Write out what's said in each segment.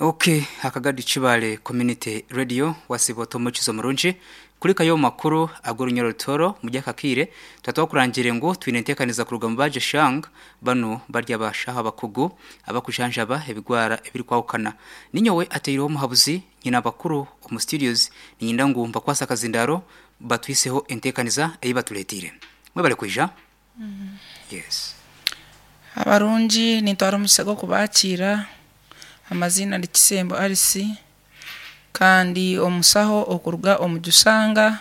Ok Akagadi Kibale Community Radio wasiiba ota omukizo murungi kurikayo omu makuru ag'orunyoro rutoro omuri aka kaire twaba twakurangire ngu twine enteekaniza kuruga omu Baje Shang banu bari abashaho abakugu abakujanjaba ebigwara ebirikwahukana ninyowe ateireho omuhabuzi nyine abakuru omu studios niinyenda ngu mbakwase akazindaaro batuhiseho enteekaniza ei batureeteire mwebare kwija. Yes. Abarungi nintwara omukisa gw'okubakiira, amaziina ni Kisembo Alice kandi omusaho okuruga omu Jusanga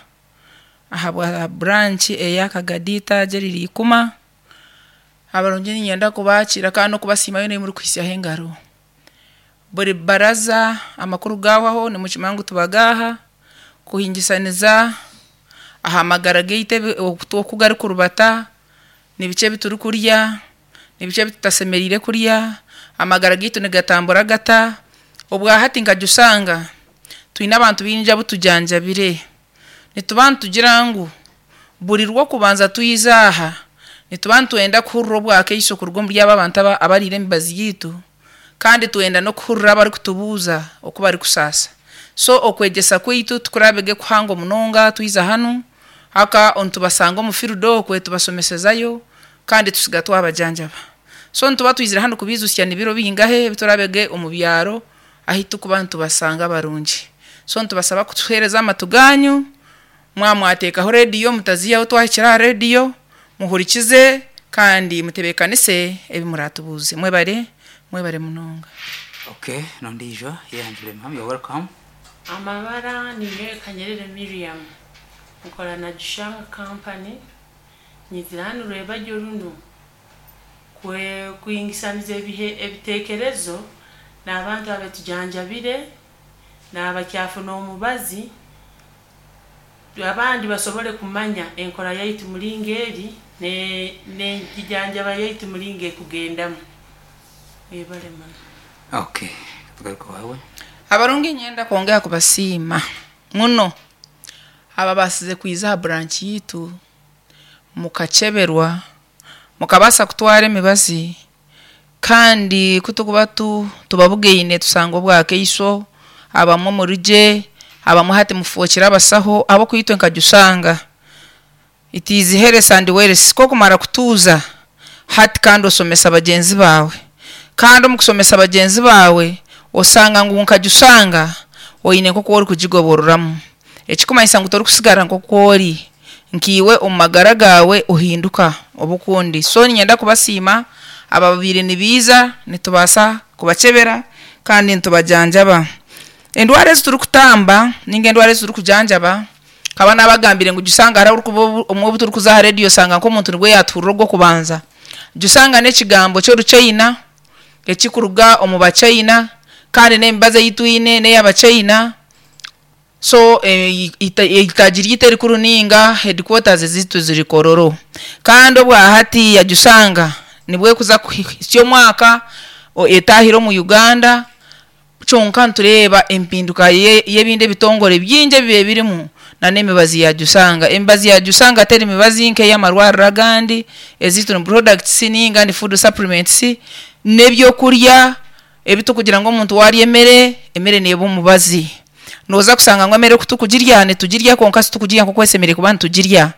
ahabwa branch eya Kagadi eitaagi eriri Ikuma. Abarungi niinyenda kubakiira kandi n'okubasiima yoona ei murikuhitsyaho engaro. Buri baraza amakuru gaahwaho nimukimanya ngu tubagaaha kuhingisaniza aha magara gaitu oku garikurubata, ni biki ebi turikurya, ni biki ebi tutashemereire kurya, amagara gaitu nigatambura gata. Obwahati nka Jusanga twine abantu baingi abu tujanjabire, nituba nitugira ngu buri rw'okubanza twija aha nituba nitwenda kuhurira obwakaiso kuruga omuri abo abantu abariire emibazi yaitu kandi twenda n'okuhurira abarikutubuuza oku barikusaasa. So okwegyesa kwaitu tikuraabe kuhango munonga twiza hanu, haka nitubasanga omu field okwe tubasomesezayo kandi tusiga twabajanjaba. So nituba twizire hanu kubiijutsya ni biro bingahe ebi turaabe omu byaro ahu turikuba nitubasanga barungi. So nitubasaba kutuheereza amatu gaanyu, mwaba mwateekaho rediyo mutaziihaho twahikire aha rediyo, muhurikize kandi mutebeekanise ebi muraatubuuze. Mwebare, mwebare munonga. Okay, n'ondiijo yehanjure ma'am, you're welcome. Amabara ninyowe Kanyerere Miriam, nkora na Jushanga Company, nyizire hanu Rwebagyo runu kuhingisaniza ebitekerezo n'abantu abetujanjabire n'abakyafuna omubazi abandi basobole kumanya enkora yaitu muringo eri n'enjijanjaba yaitu muringo ekugendamu. Mwebale muno. Okay, tugaruke owaawe. Abarungi niinyenda kwongera kubasiima muno ababaasize kwija aha branch yaitu mukakyeberwa, mukabaasa kutwara emibazi kandi ku turikuba tubabugaine tushanga obwakaiso, abamwe murigye, abamwe hati mufookire abasaho ahabw'okuba itwe nka Jusanga it is health and wealth ku orikumara kutuuza hati kandi oshomesa bagyenzi baawe kandi omu kushomesa bagyenzi baawe oshanga ngu nka Jusanga oine nk'oku orikugigobororamu Ekikumanyisa ngu torikusigara nk'oku ori, nkaiwe omu magara gaawe ohinduka oba okundi. So niinyenda kubasiima ababaire nibaija nitubaasa kubakyebera kandi nitubajanjaba. Endwara ezi turikutamba nainga endwara ezi turikujanjaba, nkaba naabagambire ngu jusanga hariho ahu orikuba obumwe obu turikuza aha rediyo osanga nk'omuntu nibwo yaatuhurira ogw'okubanza. Jusanga n'ekigambo ky'oruchaina ekirikuruga omu bachaina kandi n'emibazi ei twine n'ey'abachaina. So eitaagi ryaitu erikuru ninga headquarters zaitu ziri Kololo. Kandi obwahati yajusanga nibwo erikuza kuhitsya omwaka etaahire omu Uganda kyonka nitureeba empinduka y'ebindi ebitongore bingi ebibaire birimu na n'emibazi ya Jusanga. Emibazi ya Jusanga teri mibazi nk'eyamarwariro agandi, ezaitu ni products ninga ni food supplements n'ebyokurya. Ebi turikugira ngu omuntu waarya emere, emere neeba omubazi. Nooza kushanga ngu emere ku turikugirya, nitugirya kwonka titurikugirya nk'oku eshemereire kuba nitugirya.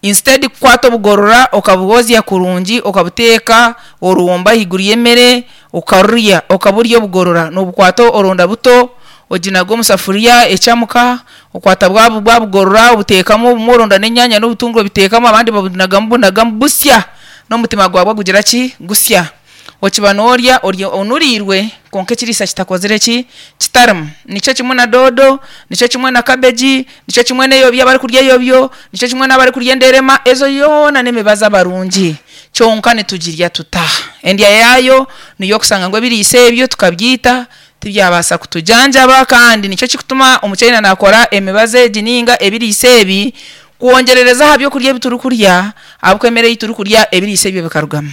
Instead kukwata obugorora okabwozya kurungi okabuteeka orwombo ahaiguru y'emere okarurya, okaburya obugorora, noobukwata oronda buto oginaga omu safuriya ecamuka, okwata bwa bwa bugorora obuteekamu obumwe oronda n'enyaanya n'obutunguru obiteekamu abandi babunagamu bunagamu busya n'omutima gwabwo gugira ki? Gusya. Okiba noorya ori onuriirwe kwonka ekiriisa kitakozire ki? Kitarimu. Nikyo kimwe na doodo, nikyo kimwe na kabegi, nikyo kimwe n'eyobyo abarikurya eyobyo, nikyo kimwe n'abarikurya enderema, ezo yoona n'emibazi abarungi. Kyonka nitugirya tuta? Endya yaayo niyo okushanga ngu ebiriisa ebyo tukabyita tibyabaasa kutujanjaba kandi nikyo kirikutuma omuchaina naakora emibazi egi nainga ebiriisa ebi kwongyerereza aha by'okurya ebi turikurya ahabw'okuba emere ei turikurya ebiriisa ebyo bikarugamu.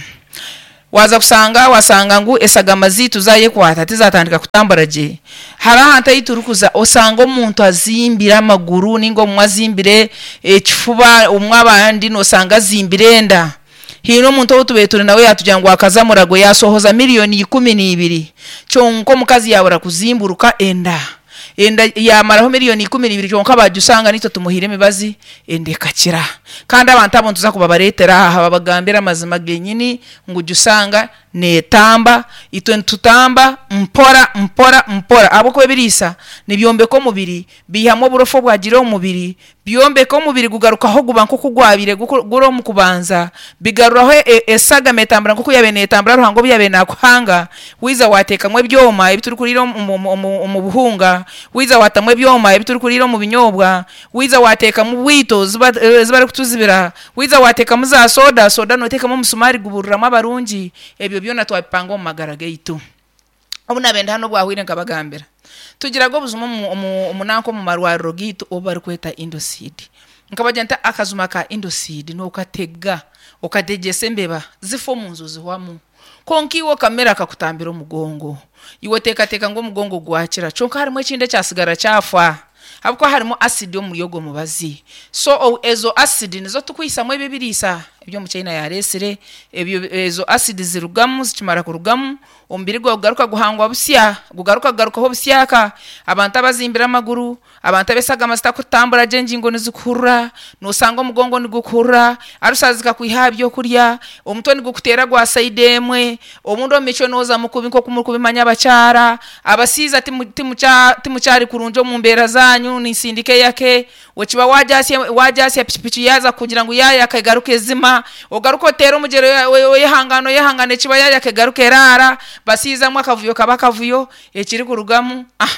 Waaza kushanga waashanga ngu eshagama zaitu zaayekwata tizaatandika kutambura gye. Hariho ahantu ahu turikuza oshanga omuntu azimbire amaguru nainga obumwe azimbire ekifuba obumwe abandi nooshanga azimbire enda. Haine omuntu ou tubaire turi nawe yaatugira ngu akaza Murago yaasohoza miriyoni 12 kyonka omukazi yaabura kuzimburuka enda. Enda yaamaraho miriyoni 12 kyonka baagishanga naitwe tumuhaire emibazi enda ekakira. Kandi abantu abo nituza kubabareetera aha babagambire amazima genyini ngu gishanga neetamba, itwe nitutamba mpora mpora mpora ahabw'okuba ebiriisa nibyombeka omubiri, biihamu oburofa obwagiire omu mubiri, byombeka omubiri gugarukaho guba nk'oku gwabaire guri omu kubanza, bigaruraho eshagama etambura nk'oku yaabaire neetambura Ruhanga obu yaabaire naakuhanga. Waija waateekamu ebyoma ebi turikuriira omu buhunga, waija waatamu ebyoma ebi turikuriira omu binyoobwa, waija waateekamu bwito ezi barikutuzibira, waija waateekamu za soda, soda nooteekamu omusumaari gubururamu abarungi, ebyo byona twabipanga omu magara gaitu. Obu naabaire ndi hanu obwahweire nkabagambira, tugiraga obujuma omu nanka omu marwariro gaitu obu barikweta Indocid. Nkabagira nti akajuma ka Indocid nookatega okategyesa embeba zifa omu nju zihwamu. Kwonka iwe okamira kakutambira omugongo. Iwe oteekateeka ngu omugongo gwakira kyonka harimu ekindi ekyatsigara kyafa ahabw'okuba harimu asidi omuri ogwo mubazi. So ezo asidi nizo turikwihisamu ebi ebiriisa ebi omuchaina yaareetsire, ebyo ezo asidi zirugamu zikimara kurugamu omubiri gwawe gugaruka guhangwa busya, gugaruka kugarukaho busyaka. Abantu abazimbire amaguru, abantu ab'eshagama zitarikutambura gye engingo nizikuhurura, noosanga omugongo nigukuhurura, alusa zikakwiha aha byokurya, omutwe nigukuteera gwa sayidi emwe, obundi omu micwe noozamu kubi nk'oku murikubimanya abakyara, abashaija timukyari kurungi omu mbeera zaanyu, ninsindika eyake, Okiba waagyasya pikipiki yaaza kukugira ngu yaayaka egaruka ezima, ogaruka oteera omugyera oyehangaana oyehangaana ekiba yaayaka egaruka eraara, basiizamu akavuyo kaba akavuyo, ekirikurugamu ah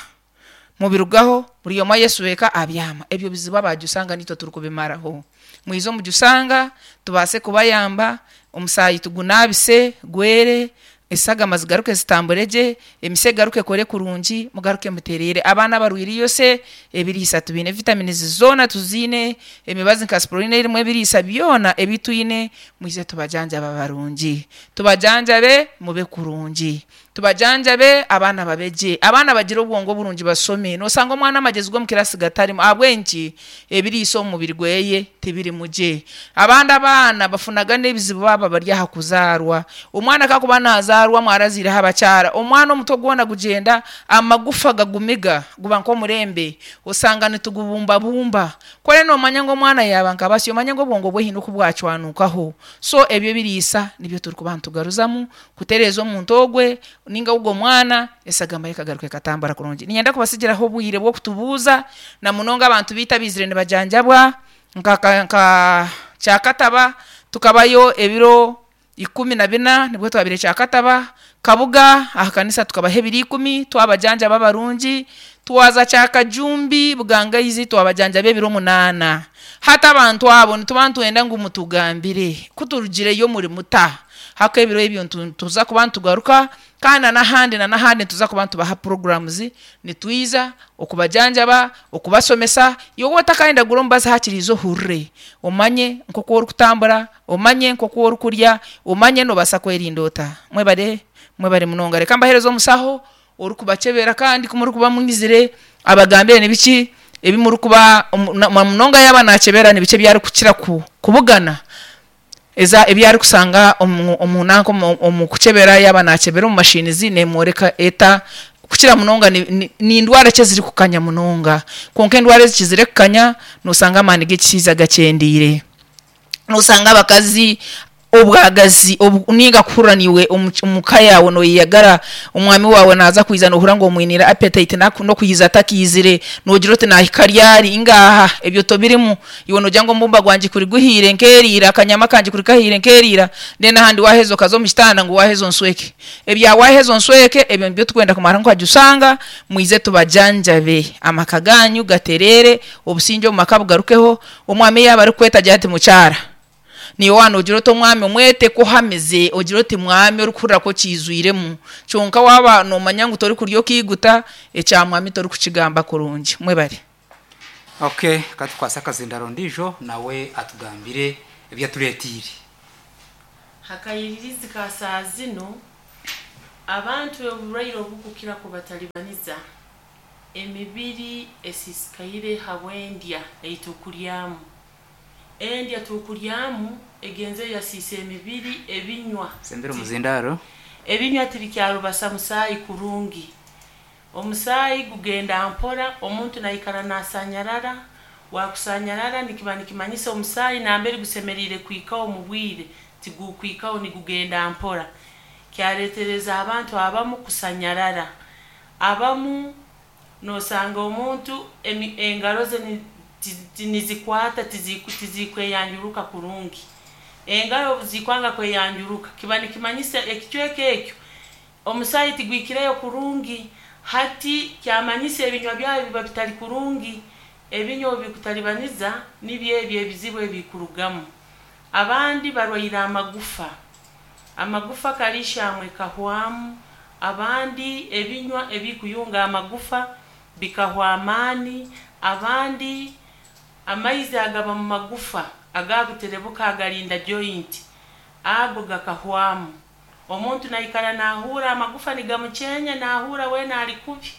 mubirugaho buri omwe ayeshweka abyama. Ebyo bizibu abaajusanga niitwe turikubimaraho. Mwije omujusanga tubaase kubayamba, omusaayi tugunaabise gwere, Eshagama zigaruke zitambure gye, emise egaruke ekore kurungi, mugaruke mutereere. Abaana abarwaire eirose, ebiriisa tubiine, vitamins zoona tuziine, emibazi nka Sprolina erimu ebiriisa byona ebi twine, mwije tubajanjabe abarungi. Tubajanjabe mube kurungi. Tubajanjabe abaana babe gye. Abaana bagire obwongo burungi bashome. Noshanga omwana amagyezi g'omu kirasi gatarimu. Ahabw'enki? Ebiriisa omu mubiri gweye tibirimu gye. Abandi abaana bafunaga n'ebizibu baaba bari aha kuzaarwa. Omwana ku arikuba naazaarwa mwaraziireho abakyara, omwana omutwe gwona gugyenda, amagufa gagumiga, guba nk'omurembe, osanga nitugubumbabumba. Ku oriyo noomanya ngu omwana yaaba nka basyo, omanye ngu obwongo bwe haine oku bwacwanukaho. So ebyo ebiriisa nibyo turikuba nitugaruzamu kutereeza omuntu ogwe ninga ogwo mwana, esagama ye ekagaruka ekatambura kurungi. Niinyenda kubatsigiraho obwire bw'okutubuuza na munonga abantu baitu abaizire nibajanjabwa nka Kyakataba tukabayo ebiro 14 nibwo twabaire Kyakataba, Kabuga aha kanisa tukabaha ebiro 10 twabajanjaba abarungi, twaza Kyakajumbi Bugangaizi twabajanjaba ebiro 8. Hati abantu abo nituba nitwenda ngu mutugambire ku turugireyo muri muta? Haka ebiro ebyo nituza kuba nitugaruka kandi na n'ahandi na n'ahandi nituza kuba nitubaha programs, nitwiza okubajanjaba, okubashomesa, iwe waaba otakayenda kugura omubazi hakiri ija ohurire omanye nk'oku orikutambura, omanye nk'oku orikurya, omanye noobaasa kwerinda ota. Mwebare, mwebare munonga. Reka mbaheereze omushaho orikubakyebera kandi ku murikuba mwizire abagambire nibiki ebi murikuba, na munonga yaaba naakyebera nibiki ebi arikukira kubugana. Eza ebi arikushanga omu omu nanka omu omu kukyebera yaaba naakyebera omu mashinizi neemworeka eta kukira munonga ni ni ni ndwara ki ezirikukanya munonga. Kwonka endwara ezikizire kukanya nooshanga amaani g'ekishaija gakyendeire. Nooshanga abakazi obwagazi obu ninga kuhurira naiwe omu omu ka yaawe nooyeyagara, omwami waawe naaza kwija noohurira ngu omwiniire appetite n'okwija atakiizire, noogira oti naahika ryari? Ngaaha ebyo tobirimu. Iwe noogira ngu omubumba gwangye kuri guhiire nkeriira, akanyama kangye kuri kahiire nkeriira, then ahandi waaheza okaza omu kitanda ngu waaheza onshweke. Ebya waaheza onshweke ebyo nibyo turikwenda kumara nkagisanga, mwije tubajanjabe, amaka gaanyu gatereere, obusingye omu maka bugarukeho, omwami yaaba arikukweta agira ati mukyara, naiwe waaba noogira oti omwami omwete ku ohamize, ogire oti mwami orikuhurira ku okiijwiremu, kyonka waaba noomanya ngu torikurya okaiguta, ekya mwami torikukigamba kurungi. Mwebare. Ok ka tukwase akazindaro ondiijo nawe atugambire ebi atureeteire. Hakayiririzi ka saa zinu, abantu oburwaire obukukira kubatalibaniza, emibiri esisikaire habw'endya ei tukuryamu. Endya tukuryamu egenzere yasiisa emibiri, ebinywa. Sembera omuzindaaro. Ebinywa tibikyarubasa musaayi kurungi. Omusaayi gugenda mpora, omuntu naikara nasanyarara, wakusanyarara nikiba nikimanyisa omusaayi nambere gusemeriire kuhikaho omu bwire tigukuhikaho nigugenda mpora. Kyaretereza abantu abamu kusanyarara. Abamu nosanga omuntu engaro ze nizikwata tizikweyanjuruka kurungi. Engaro obu zikwanga kweyanjuruka kiba nikimanyisa ekicweka ekyo omusaayi tigwikireyo kurungi. Hati kyamanyisa ebinywa byawe biba bitari kurungi. Ebinywa obu bikutalibaniza nibyo ebyo ebizibu ebikurugamu. Abandi barwaire amagufa. Amagufa kalishamu ekahwamu, abandi ebinywa ebikuyunga amagufa bikahwa amaani, abandi amaizi agaba mu magufa agakuterebuka agarinda joint ago gakahwamu. Omuntu naikara nahuura amagufa nigamukyenya, nahuura weena ali kubi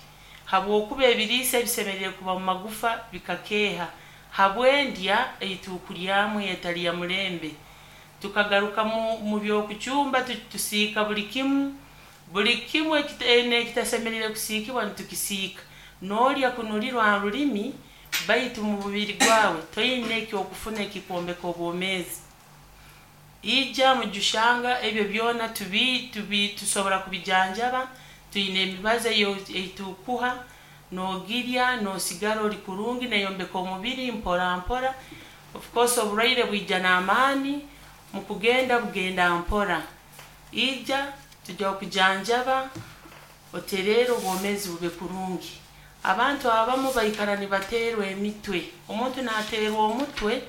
habwokuba ebiriisa ebisemeriire kuba mu magufa bikakeeha habw'endya ei tukuryamu etali ya mulembe. Tukagaruka mu by'okucumba tusiika buli kimu, buli kimu ekitasemeriire kusiikibwa nitukisiika. Noolya kunulirwa ha rulimi baitu mu mubiri gwawe toine eky'okufuna ekikwombeka obwomeezi. Ija mujushanga ebyo byona tusobora kubijanjaba, twine emibazi ei tukuha, noogirya noosigara ori kurungi neeyombeka omubiri mpora mpora. Of course oburwaire bwija n'amaani, mu kugenda bugenda mpora. Ija tujya kukujanjaba otereere obwomeezi bube kurungi. Abantu abamu baikara nibateerwa emitwe. Omuntu naateerwa omutwe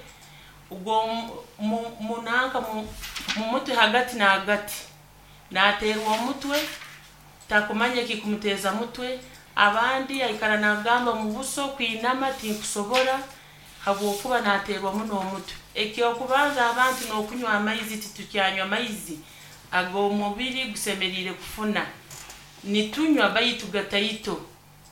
nanka mu mutwe hagati na hagati. Naateerwa omutwe takumanya ekikumuteeza mutwe, abandi aikara naagamba mu buso kwinama tinkusobora habwokuba naateerwa muno omutwe. Eky'okubanza abantu n'okunywa amaizi titukyanywa maizi ag'omubiri gusemeriire kufuna. Nitunywa baitu gataito,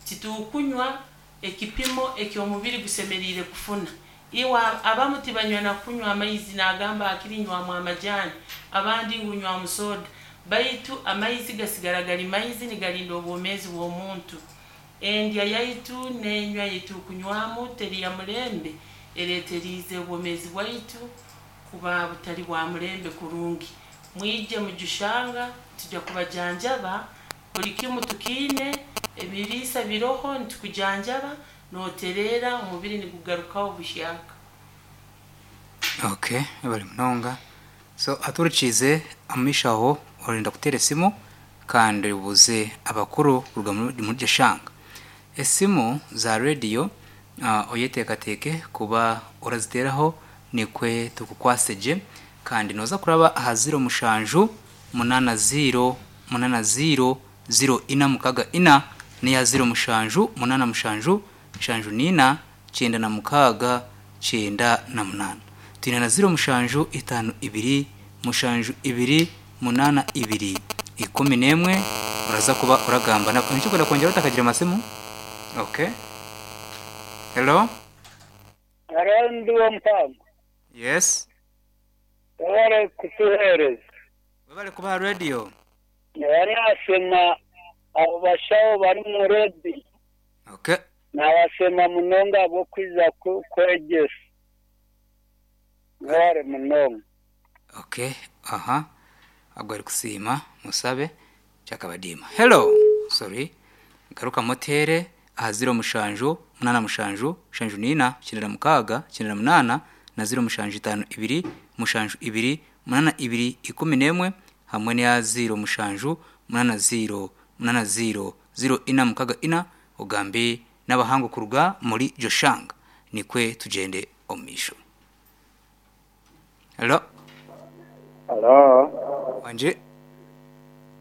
titukunywa ekipimo eky'omubiri gusemeriire kufuna. Iwe abamu tibanywa na kunywa amaizi naagamba hakiri nywamu amajaani, abandi ngu nywamu soda, baitu amaizi gasigara gari maizi nigarinda obwomeezi bw'omuntu. Endya yaitu n'enywa ei tukunywamu teri ya mulembe ereeteriize obwomeezi bwaitu kuba butari bwa mulembe kurungi. Mwije mujushanga tujya kubajanjaba, buli kimu tukiine, ebiriisa biroho nitukujanjaba nootereera omubiri nigugarukaho buhyaka. Okay, bari munonga. So aturikiize omu maisho aho orenda kuteera esimu kandi obuuze abakuru kuruga muri Jeshanga. Esimu za rediyo oyeteekateeke kuba oraziteeraho nikwe tukukwase gye kandi nooza kuraba aha ziro mushanju munaana ziiro munaana ziiro ziro ina mukaga ina n'eya ziro mushanju munaana mushanju nshanju n'ina kyenda na mukaaga kyenda na munaana. Twine na ziro mushanju itaano ibiri mushanju ibiri munaana ibiri 11 oraza kuba oragamba nabo. Oine eki orikwenda kwongyeraho otakagiire masimu? Okay. Hello. Hello ndi Wampango. Yes. Webale kutuhereza. Webale kuba aha radio. Nyowe nasiima abo bashaho bari omu radio. Okay. Nabasiima munonga ahabw'okwija kwegyesa. Mwebale munonga. Okay, aha. Agu arikusiima musabe kyakabadiima. Hello. Sorry. Garukamu oteere aha ziro mushanju munaana mushanju mushanju n'ina kyenda na mukaaga kyenda na munaana na ziro mushanju itaano ibiri mushanju ibiri munaana ibiri 11 hamwe n'eya ziro mushanju munaana ziiro munaana ziiro ziro ina mukaga ina ogambe n'abahangu kuruga muri Joshang nikwe tugyende omu maisho. Hello. Hello. Wangi.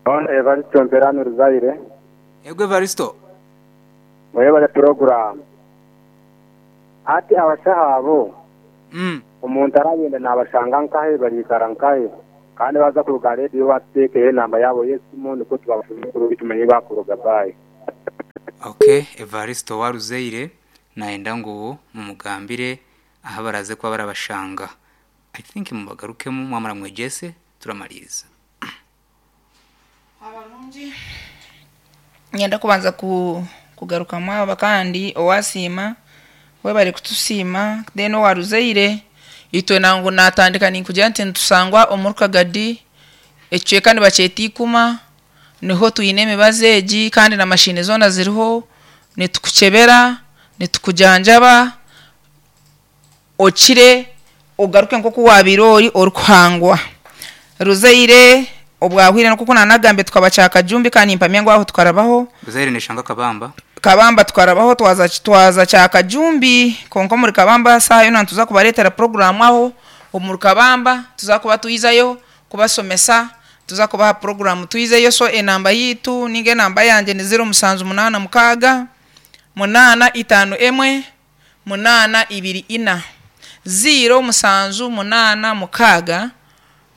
Hon Evaristo Mperani Ruzaire. Yego Evaristo. Mwebale puroguramu. Hati abashaho abo omuntu arayenda nabashanga nkahe bariikara nkahe kandi baza kuruga aha rediyo batuteekeho enamba yaabo y'esimu nikwo tubafune kurungi tumanye ahu bakuruga. Bye. Ok Evaristo owa Ruzaire nayenda ngu mumugambire. Aha baraze kuba barabashanga. I think mubagarukemu mwamara mwegyese turamaliriza. Abarungi nyenda kubanza ku kugarukamu aba kandi owasiima webare kutusiima then owaruzaire itwe nangu natandika ninkugira nti nitusangwa omu Rukagadi ekicweka nibakyeta Ikuma niho twine emibazi egi kandi na mashini zoona ziriho nitukukyebera nitukujanjaba okire ogaruke nk'oku wabiire ori orikuhangwa. Ruzaire obwahwire nk'oku nanagambire tukaba Kyakajumbi kandi nimpamya ngu aho tukarabaho. Ruzaire neshanga Kabamba. Kabamba tukarabaho twaza twaza Kyakajumbi kwonka omuri Kabamba saaha yoona nituza kubareetera puroguraamu aho omuri Kabamba tuza kuba twizayo kubasomesa tuza kubaha puroguraamu twizeyo so enamba yiitu ninga enamba yangye ni 0786 851 824. 0786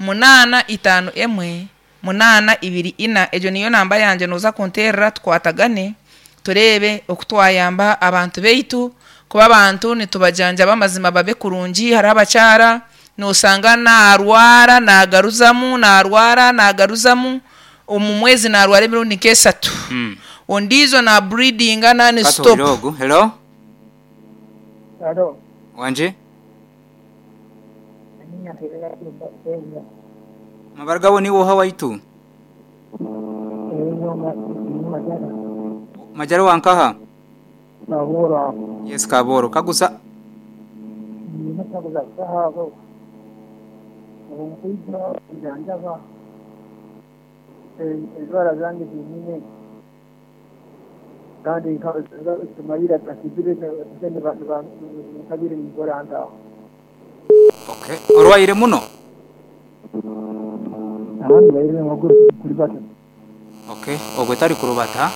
851 824. Egyo niyo namba yangye nooza kunteerera tukwatagane tureebe oku twayamba abantu baitu kuba abantu nitubajanjaba amazima babe kurungi. Hariho abakyara noosanga naarwara naagaruzamu naarwara naagaruzamu omu mwezi naarwara emirundi nk'esatu. Ondiijo naaburidinga nani Katuhurire stop. ogu. Hello? Halo. Wangi? Amabara gawe niiwe oha waitu? Majara wa nkaha? Yes Kabooro. Kaguza. Endwara zange zinyine kandi tumayire nkabire ninkora ntaho. Okay. Orwaire muno? Ahandi baire amaguru kuribata. Okay. Ogwe tari kurubata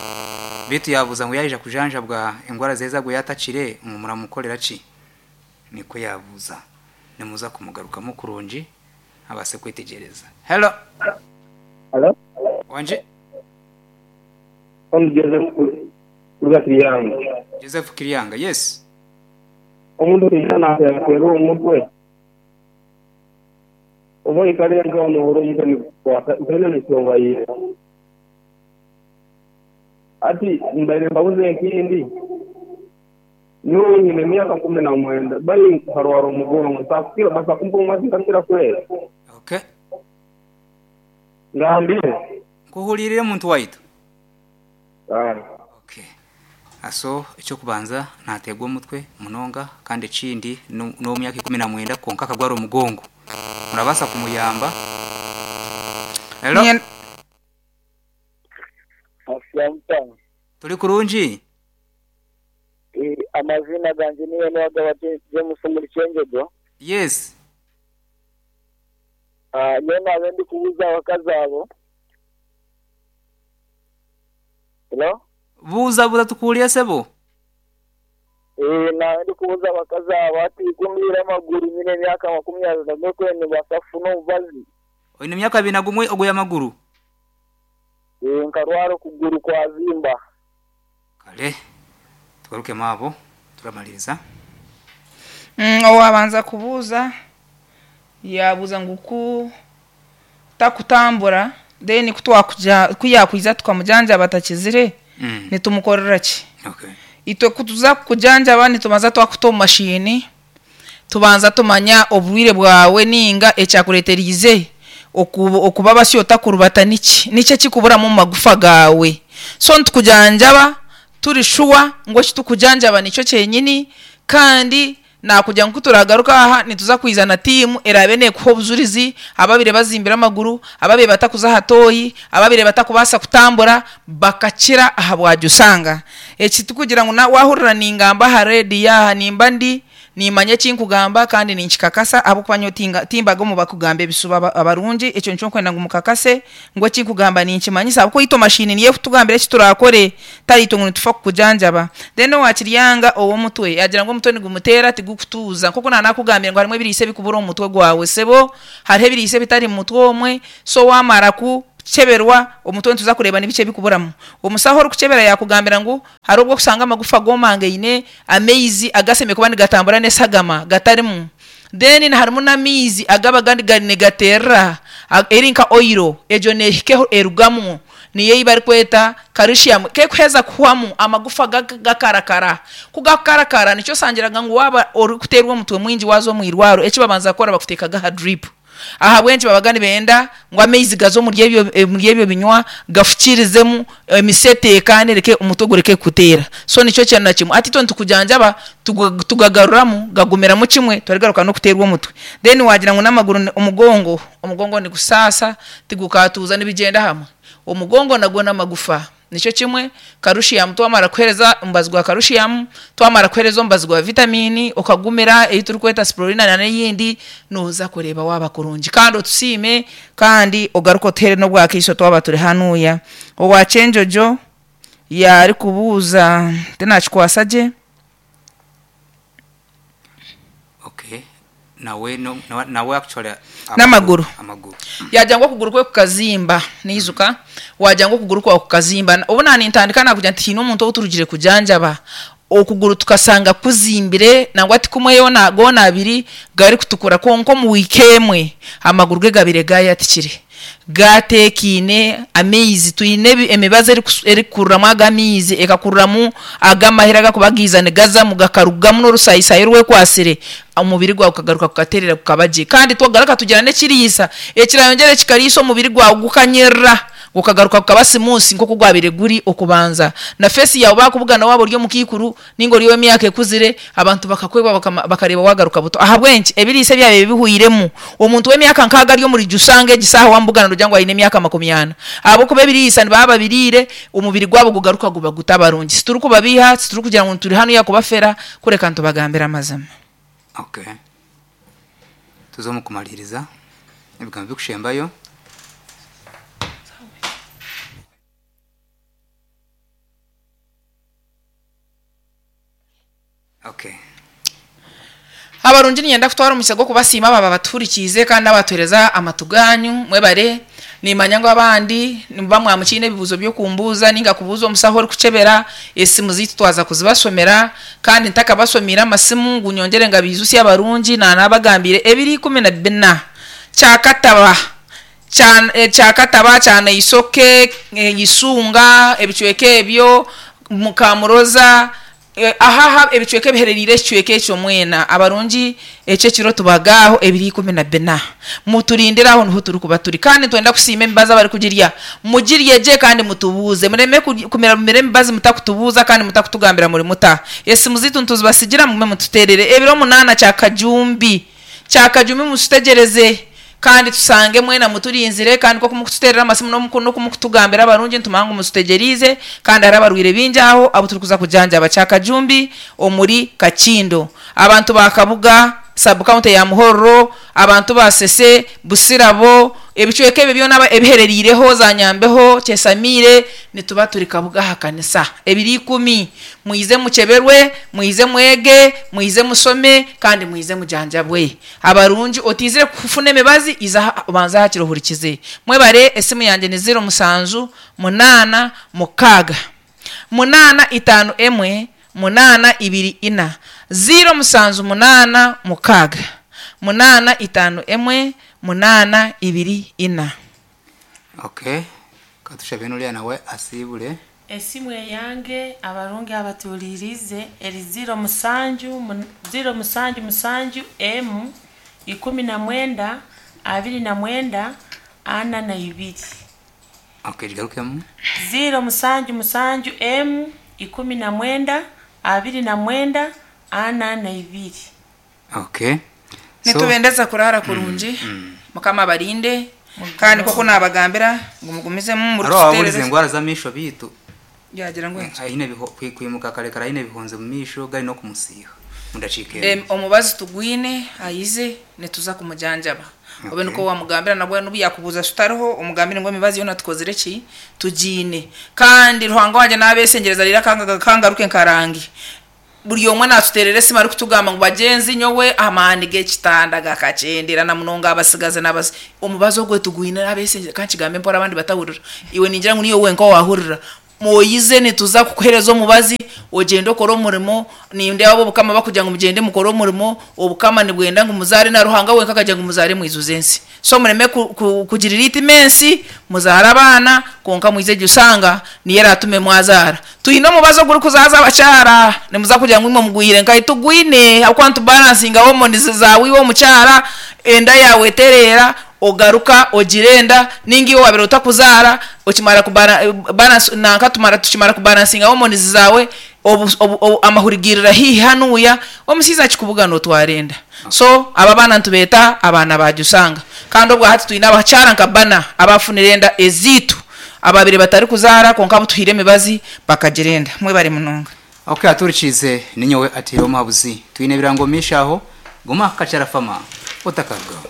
bitu yabuza ngu yaija kujanjabwa engwara zeza gwe yatakire ngu muramukorera ki? Nikwo yabuza. Nimuza kumugarukamu kurungi abase kwetegyereza. Hello. Hello? Wangi? Omu Joseph kuruga Kiryanga. Joseph Kiryanga, yes. Omuntu oija nateera omutwe oba oikare nkaho nohurira omutwe nigukukwata zoona n'enshonga ye. Hati mbaire mbabuze ekindi, nyowe nyine emyaka 19 bali nkarwara omugongo ntakukira basa kumpa omubazi nkakira kwera. Okay. Ngambire. Nkuhuriire muntu waitu. Kare. Okay. Aso ekyokubanza nateegwa omutwe munonga kandi ekindi n'ow'emyaka 19 kwonka akagwara omugongo. Murabaasa kumuyamba. Hello? Turi kurungi? Amazina gangye niiwe Niwagaba James omuri Kyengyego. Yes. Nyowe naaba ndikubuuza abakazi abo. Hello? Buuza buuza tukuhurire sebo. Naaba ndikubuuza abakazi abo hati ku amaguru nyine emyaka 21 kwenu nibaasa kufuna omubazi. Oine emyaka 21 ogwire amaguru? Nkarwara okuguru kwazimba. Kare tugarukemu abo turamaliriza. Owabanza kubuuza yaabuuza ngu ku takutambura then ku twakuja ku yaakwiza tukamujanjaba atakizire nitumukorera ki? Okay. Itwe ku tuza kukujanjaba nitubanza twakuta omu mashini tubanza tumanya oburwaire bwawe ninga ekyakureeteriize okuba basyo otakurubata niki? Niki ekikuburamu omu magufa gaawe? So nitukujanjaba turi shuwa ngu eki tukujanjaba nikyo kyenyini kandi nakugira ngu kuturagaruka aha nituza kwiza na tiimu eraabe neekuha obujurizi ababaire bazimbire amaguru, ababaire batakuza aha tooyi, ababaire batakubaasa kutambura bakakira aha bwajusanga. Eki tikugira ngu waahurira ningamba aha reediyo aha nimba ndi nimanya eki nkugamba kandi ninkikakasa ahabw'okuba nyowe timbaga omu bakugamba ebishuba abarungi ekyo nikyo nkwenda ngu mukakase ngu eki nkugamba ninkimanyisa ahabw'okuba itwe mashini niyo ekutugambira eki turakore tari itwe ngu nitufa kukujanjaba. Then owa Kiryanga ow'omutwe yaagira ngu omutwe nigumuteera tigukutuuza nk'oku naanakugambire ngu harimu ebiriisa ebikubura omu mutwe gwawe sebo hariho ebiriisa ebitari mu mutwe omwe so waamara ku. Kucheberwa omutwe nituza kureeba nibiki ebikuburamu. Omusaho orikuchebera yakugambira ngu hariho obu okusanga amagufa gomangaine, amaizi agasemeriire kuba nigatambura n'esagama gatarimu. Then harimu n'amaizi agaba nigaterera eri nka oil egyo nehika erugamu niyo ei barikweta calcium. Ku erikuheza kuhwamu amagufa gakarakara. Ku gakukarakara nikyo osangiraga ngu waaba orikuteerwa omutwe mwingi waaza omu irwariro eki babanza kukora bakuteekaga aha drip. Ahabw'enki babaga nibenda ngu amaizi gaze omuri ebyo omuri ebyo binywa gafukiirizemu emisi eteekaane ereke omutwe gureke kukuteera. So nikyo kyona kimwe. Hati itwe nitukujanjaba tugagaruramu gagumiramu kimwe torigaruka n'okuteerwa omutwe. Then waagira ngu n'amaguru omugongo, omugongo nigusaasa tigukatuuza nibigyenda hamwe. Omugongo nagwo n'amagufa. Nikyo kimwe, karushiyamu twamara kukuheereza omubazi gwa karushiyamu, twamara kukuheereza omubazi gwa vitamiini, okagumira ei turikweta sipurolina nana eyindi, nooza kureeba waaba kurungi. Kandi otusiime kandi ogaruke otuheere n'obwakaiso twaba turi hanuuya. Owa Kyenjojo yaarikubuuza tinakikwasa gye. Okay. Nawe no, nawe, nawe actually N'amaguru. Amaguru. Yaagira ngu okuguru kwe kukazimba. Naijuka waagira ngu okuguru kwawe kukazimba. Obu naanintandika naakugira nti haine omuntu ou turugire kujanjaba, okuguru tukasanga kuzimbire nangwa ti kumwe yoona goona abiri garikutukura kwonka omu wiiki emwe amaguru ge gabaire gaayatikire. Gaateekaine amaizi, twine emibazi erikukururamu ago amaizi, ekakururamu ago amahira agakuba gaiza nigazamu gakarugamu n'orusayisaayi orwekwatsire, omubiri gwawe gukagaruka gukatereera gukaba gye. Kandi twagaruka tugira n'ekiriisa ekirayongyere kikariisa omubiri gwawe gukanyirira gukagaruka gukaba simuusi nk'oku gwabaire guri okubanza. Na feesi yaawe baakubugana waaba ori omukaikuru nainga ori ow'emyaka ekuzire, abantu bakakwebwa bakareeba waagaruka buto. Ahabw'enki? Ebiriisa ebyabaire bihweiremu. Omuntu w'emyaka nkaaga ari omuri Jusanga egi saaha waamubugana noogira ngu aine emyaka makumyana. Ahabw'okuba ebiriisa nibaba babiriire, omubiri gwabo gugaruka guba gutabarungi. Titurikubabeiha, titurikugira ngu turi hanuya kubafera, kureka nitubagambira amazima. Okay. Tuze omu kumariiriza ebigambo ebirikushembayo. Okay. Abarungi niinyenda kutwara omukisa gw'okubasiima abo abatuhurikiize kandi n'abatuheereza amatu gaanyu. Mwebare. Niimanya ngu abandi nimuba mwamukiine ebibuuzo by'okumbuuza nainga kubuuza omusaho orikukyebera. Esimu zaitu twaza kuzibashomera kandi ntakabashomeire amasimu ngu nyongyere ngabaijutsye abarungi naanabagambiire ebiro 14 Kyakataba Kyakataba, Kyanaisoke, Isunga, ebicweka ebyo, Mukamuroza, Aha aha ebicweka ebiherereire ekicweka ekyo mwena abarungi ekyo ekiro tubaga aho ebiro 14. Muturindire aho niho turikuba turi. Kandi nitwenda kusiima emibazi abarikugirya. Mugirye gye kandi mutubuuze. Mureme kumira mumire emibazi mutakutubuuza kandi mutakutugambira muri muta. Esimu zaitu nituzibasigira mugume mututeerere. Ebiro 8 Kyakajumbi. Kyakajumbi mututegyereze kandi tushange mwena muturinzire kandi nk'oku murikututeerera amasimu n'oku murikutugambira abarungi nitumanya ngu mututegyereize kandi hariho abarwaire baingi aho abu turikuza kujanjaba. Kyakajumbi omuri Kakindo. Abantu ba Kabuga, sub county ya Muhorro, abantu ba Sese, Busirabo, ebicweka ebyo byona ebiherereireho za Nyambeho, Kyesamiire, nituba turi Kabuga aha kanisa. Ebiro 10. Mwize mukyeberwe, mwize mwege, mwize mushome kandi mwize mujanjabwe. Abarungi, otiizire kufuna emibazi, iza aha obanze aha kiro ohurikize. Mwebare, esimu yangye ni ziro mushanju munaana mukaaga munaana itaano emwe munaana ibiri ina. Ziro mushanju munaana mukaaga munaana itaano emwe munaana ibiri ina. Okay, katushabe n'oriya nawe asiibure. Esimu eyange abarungi abatuhuriiriize eri ziro mushanju, ziro mushanju mushanju emu, 19, 29, 42. Okay, gigarukemu. Ziro mushanju mushanju emu, 19, 29, 42. Okay. So, Nitubendeza kuraara kurungi. Mukama abarinde. Kandi nk'oku naabagambira ngu mugumizemu hariho ababurize murikututeerereza. engwara z'amaisho beitu Yaagira ngu enki? aine kwimuka kare kare aine ebihunzi omu maisho gari n'okumusiiha omu dakiika emwe. Omubazi tugwine ayize nituza kumujanjaba. Obe Okay. nikwo wamugambira nabwo n'obu yakubuuza tutariho omugambire ngu emibazi yoona tukozire ki? Tugiine. Kandi Ruhanga wangye naabeeshengyereza reero akangaruke nkarange. Buri omwe naatuteerera esimu arikutugamba ngu bagyenzi nyowe amaani g'ekitanda gakakyendera na munonga abasigazi n'abasi. Omubazi ogwo tugwine n'abeeshengyereza ka nkigambe mpora abandi batahurira. Iwe ningira ngu niiwe wenka owaahurira. Oize nituza kukuheereza omubazi ogyende okore omurimo. Nindeeba ab'Obukama bakugira ngu mugyende mukore omurimo. Obukama nibwenda ngu muzaare na Ruhanga wenka akagira ngu muzaare mwijuze ensi. So mureme kugirira eitima ensi, muzaare abaana kwonka mwije gishanga niyo eraatume mwazaara. Twine omubazi ogurikuzaaza abakyara, nimuza kugira ngu imwe mugwire nkahi? Tugwine ahabw'okuba nitubaransinga hormones zaawe iwe omukyara, enda yaawe etereera, ogaruka ogira enda, ninga iwe wabaire otakuzaara, okimara kubara balance nanka tumara tukimara kubaransinga hormones zaawe, obu obu amahuri gairira haihi hanuuya, omushaija akikubugana otwara enda. So abo abaana nitubeeta abaana ba Jusanga. Kandi obwa hati twine abakyara nka bana abaafunire enda ezaitu abaabaire batarikuzaara kwonka abu tuhaire emibazi bakagira enda. Mwebare munonga. Ok aturikiize ninyowe Atiira Omuhabuzi. Twine ebirango omu maisho aho, guma aha Kakyara Fama otakarugaho.